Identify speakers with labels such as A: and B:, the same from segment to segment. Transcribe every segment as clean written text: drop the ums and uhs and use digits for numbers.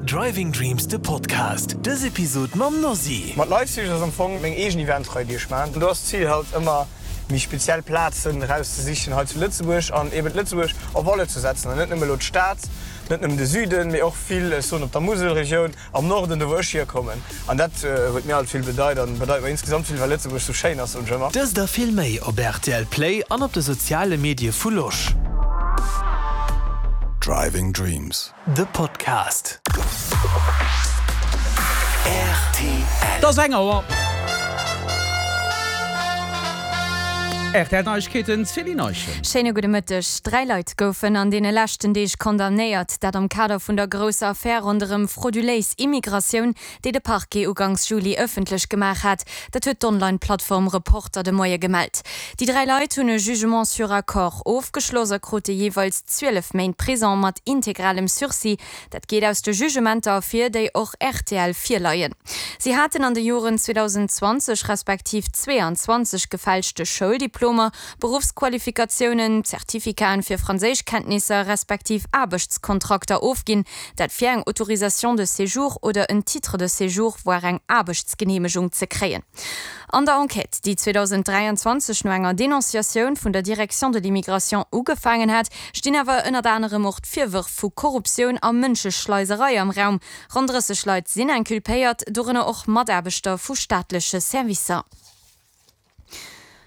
A: Driving Dreams de Podcast. Dës Episod mam Nosy.
B: Mat Leipzig ass am Fong meng eegen Eventrei déi ech maan. Do ass d'Zil halt ëmmer méi speziell Plazen erauszesichen hei zu Lëtzebuerg an eben Lëtzebuerg en valeur ze setzen an net nëmme elo d'Stad, net nëmmen de Süden, mee och vill, ech soen op der Muselregioun, am Norden, do wou ech hierkommen. An dat huet mir alt vill bedeit an bedeit mer insgesamt vill, well Lëtzebuerg sou schéin ass, soen ech ëmmer.
A: Dëst a vill méi op rtl Play an op de soziale Medie vu Losch.
C: Driving Dreams.
A: The Podcast.
D: Et ass eng Auer. Rtl Neiegkeeten, Céline Eischen.
E: Schéine gudde Mëtteg. 3 Leit goufen an deene leschten Deeg condamnéiert, dat am Kader vun der grousser Affär ronderëm frauduléis Immigratioun, déi de Parquet uganks Juli ëffentlech gemaach hat. Dat huet d'Online-Plattform Reporter de Moie gemellt. Déi 3 Leit hunn e Jugement sur accord ofgeschloss a krute jeeweils 12 Méint Prison mat integralem Sursis. Dat geet aus de Jugementer ervir, déi och rtl virleien. Si haten an de Joren 2020 respektiv 22 gefälschte Schouldiplomer, Beruffsqualifikatiounen, Zertificaten fir Franséischkenntnisser respektiv Aarbechtskontrakter ofginn, dat fir eng Autorisation de séjour oder en Titre de séjour, voire eng Aarbechtsgeneemegung ze kréien. An der Enquête, déi 2023 no enger Denonciatioun vun der Direction de l'immigration ugefaangen hat, stinn awer ënnert anerem och d'Virwërf vu Korruptioun a Mënscheschleiserei am Raum. Ronn 30 Leit sinn inculpéiert, dorënner och Mataarbechter vu staatleche Servicer.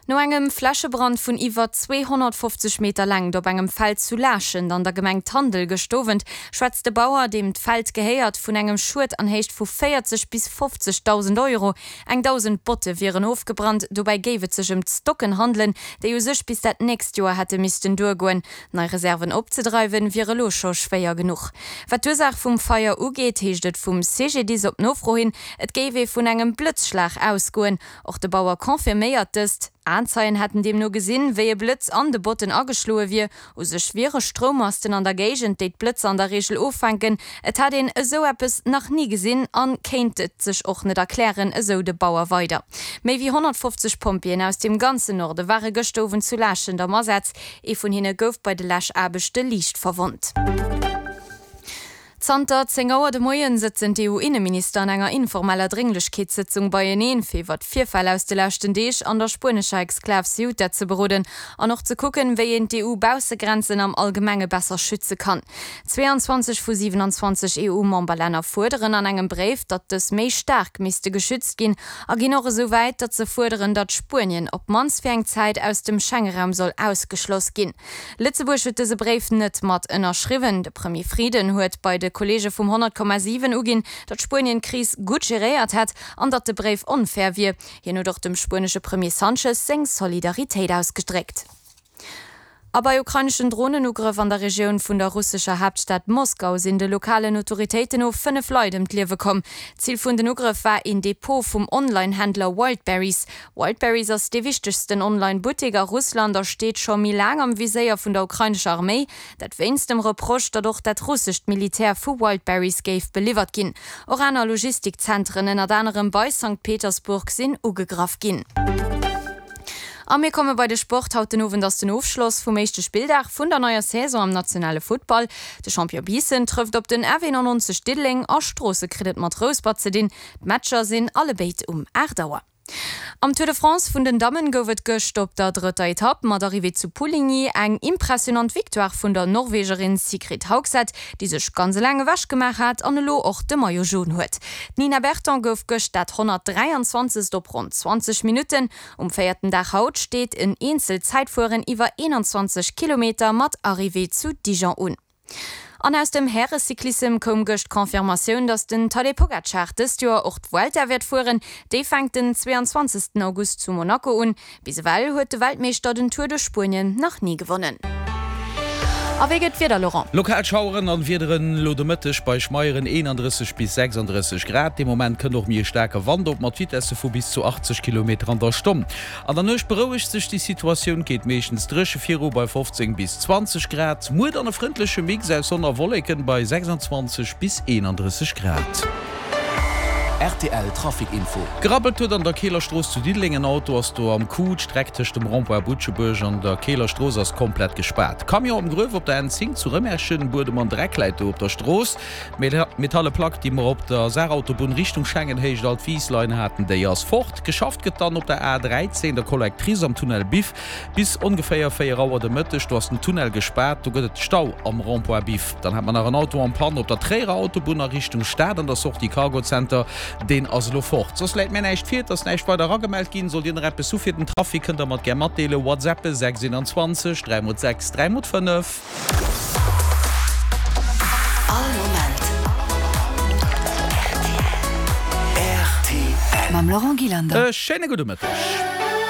E: No engem Flächebrand vun iwwer 250 Meter Längt op engem Feld zu Laaschent an der Gemeng Tandel gëscht Owend, schwätzt de Bauer, deem d'Feld gehéiert, vun engem Schued an Héicht vu 40 bis 50.000 Euro. Eng 1.000 Botte wieren ofgebrannt. Dobäi géif et sech ëm d'Stocken handelen, déi u sech bis dat nächst Joer hätte missten duergoen. Nei Reserven opzedreiwen, wier elo scho schwéier genuch. Wat d'Ursaach vum Feier ugeet, heescht et vum CGDIS op Nofro hin, et géif ee vun engem Blëtzschlag ausgoen. Och de Bauer confirméiert dëst. Aenzeien hätten deemno gesinn, wéi e Blëtz an de Botten ageschloe wier. U sech wiere Stroummasten an der Géigend, déi d'Blëtzer an der Reegel offänken. Et hätt een esou eppes nach ni gesinn an kéint et sech och net erklären, esou de Bauer weider. Méi wéi 150 Pompjeeën aus dem ganzen Norde ware gëschter Owend zu Laaschent am Asaz. Ee vun hinne gouf bei de Läschaarbechte liicht verwonnt. Zanter 10 Auer de Moien sëtzen d'EU-Inneminister an enger informeller Drénglechkeetssëtzung beieneen, fir iwwer d'Virfäll aus de leschten Deeg an der spuenescher Exklav Ceuta ze beroden an och ze kucken, wéi een d'EU-Baussegrenzen am Allgemenge besser schütze kann. 22 vu 27 EU-Memberlänner fuerderen an engem Bréif, datt dës méi staark misste geschützt ginn a ginn och esou wäit, datt se fuerderen, datt Spuenien op d'mannst fir eng Zäit aus dem Schengeraum soll ausgeschloss ginn. Lëtzebuerg huet dëse Bréif net mat ënnerschriwwen. De Premier Frieden huet bei de Kolleege vum 100,7 uginn, datt Spuenien d'Kris gutt geréiert hätt an datt de Bréif onfair wier. Hien huet och dem spuenesche Premier Sanchez seng Solidaritéit ausgedréckt. A bei ukraineschen Dronenugrëff an der Regioun vun der russescher Haaptstad Moskau sinn de lokalen Autoritéiten no 5 Leit ëm d'Liewe komm. Zil vun den Ugrëff war een Depot vum Online-Händler Wildberries. Wildberries ass dee wichtegsten Online-Buttek a Russland a steet scho méi laang am Viséier vun der ukrainescher Arméi. Dat wéinst dem Reproche, datt och dat russescht Militär vu Wildberries géif beliwwert ginn. Och aner Logistikzentren, ënnert anerem bei Sankt Petersburg, sinn ugegraff ginn. A mir komme bei de Sport. Haut den Owend ass den Ofschloss vum éischte Spilldag vun der neier Saison am nationale Futtball. De Champion Biissen trëfft op den FE 99 Diddeleng a Stroosse kritt et mat Rouspert ze dinn. D'Matcher sinn allebéid um 8 Auer. Am Tour de France vun den Dammen gouf et gëscht op der drëtter Etapp mat Arrivée zu Pouligny eng impressionant Victoire vun der Norwegerin Sigrid Haugset, déi sech ganz eleng ewech gemaach hat an elo och de Maillot Jaune huet. D'Nina Berton gouf gëscht dat 123. op ronn 20 Minutten. Um véierten Dag haut steet en Eenzelzäitfueren iwwer 21 Kilometer mat Arrivée zu Dijon un. An aus dem Härecyclissem koum gëscht d'Confirmatioun, datt den Tadej Pogacar dëst Joer och d'Vuelta wäert fueren. Déi fänkt den 22 August zu Monaco un. Bis ewell huet de Weltmeeschter den Tour de Spuenien nach ni gewonnen. A wéi gëtt d'Wieder, Laurent?
D: Lokal Schaueren an Wiederen elo de Mëtteg bei Schmeieren 31 bis 36 Grad. Dee Moment kënnt och méi e staarke Wand op mat Vitesse vu bis zu 80 Kilometer an der Stonn. An der Nuecht berouegt sech déi Situatioun, geet meeschtens dréche viru bei 15 bis 20 Grad. Muer dann e frëndleche Mix aus Sonn a Wolleken bei 26 bis 31 Grad. Rtl Trafic Info. Gerabbelt huet an der Keeler Strooss zu Diddeleng. En Auto ass do am Coup. D'Streck tëscht dem Rond-point Butschebuerg an der Keeler Strooss ass komplett gespaart. Camion am Gruef op der N10 zu Rëmerschen. Buedem an Dreck läit do op der Strooss. D'metalle Plack, déi mer op der Saarautobunn Richtung Schengen-Héicht Altwieslein haten, déi ass fort. Geschafft gëtt dann op der A13, der Collectrice am Tunnel Biff. Bis ongeféier 4 Auer de Mëtteg, do ass den Tunnel gespaart, do gëtt et Stau am Rond-point Biff. Dann hat mer nach en Auto en panne op der Tréierer Autobunn a Richtung Stad an der Sortie Cargo Center, deen ass elo fort. Soss läit mär näischt vir, et ass näischt weider eragemellt ginn. Sollt Dir nach eppes hu fir den Trafic, kënnt der mer et gär matdeelen. Whatsappe 6 21 3 mol 6 3 mol 5.
C: All Moment rtl. Mam Laurent Gillander.
D: E schéine gudde Mëtteg.